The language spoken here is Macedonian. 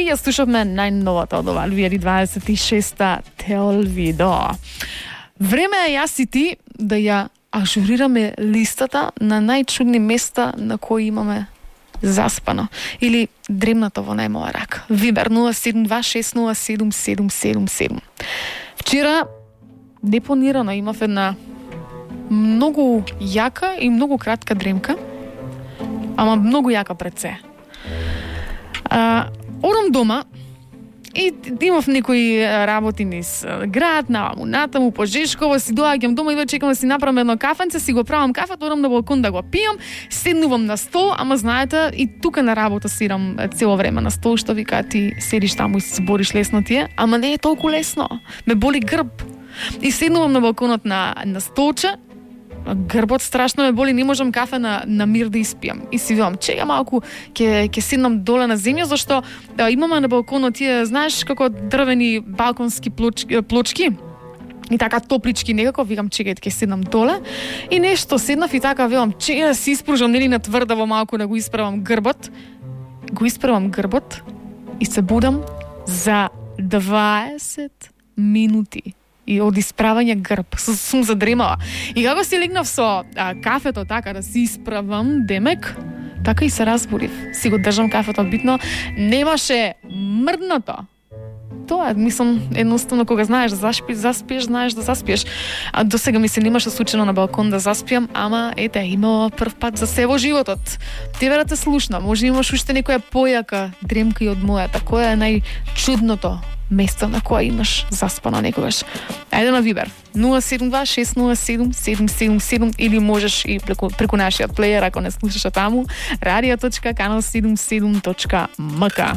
Ја слушавме најновата од ова 2026-та Телвидо. Време е јас и ти да ја ажурираме листата на најчудни места на кои имаме заспано или дремнато во најмоја рака. Вибер 072607777. Вчера непланирано имав една многу јака и многу кратка дремка, ама многу јака пред се. Одам дома и имав некои работи низ град, наваму натаму по Жешково, си доаѓам дома и веќе чекам да си направам едно кафенце, си го правам кафето, одам на балкон да го пијам, седнувам на стол, ама знаете, и тука на работа сидам цело време на стол, што вика ти седиш таму и се бориш лесно тие, ама не е толку лесно. Ме боли грб. И седнувам на балконот на столче, грбот страшно ме боли, не можам кафе на мир да испијам. И си викам, чека малку, ќе седнам доле на земја, зашто имаме на балконот тие, знаеш, како дрвени балконски плочки. И така топлички некако, викам, чекај, ќе седнам доле. И нешто седнав и така викам, чекај да си испружам, нели на тврдаво малку да го исправам грбот. Го исправам грбот и се будам за 20 минути. И од исправање грб, сум задремала. И како си легнав со кафето така да си исправам, демек, така и се разбудив. Си го држам кафето битно, немаше мрдното. Тоа е, мислам, едноставно кога знаеш да заспиеш, знаеш да заспиеш. А до сега ми се немаше случајно на балкон да заспиам, ама ете, имала прв пат за се во животот. Тебе да те слушна, може имаш уште некоја појака дремка и од мојата. Која е најчудното место на која имаш заспано некогаш? Ајде на Вибер 072607777 или можеш и преку нашиот плејер ако не слушаш таму radio.canal77.mk.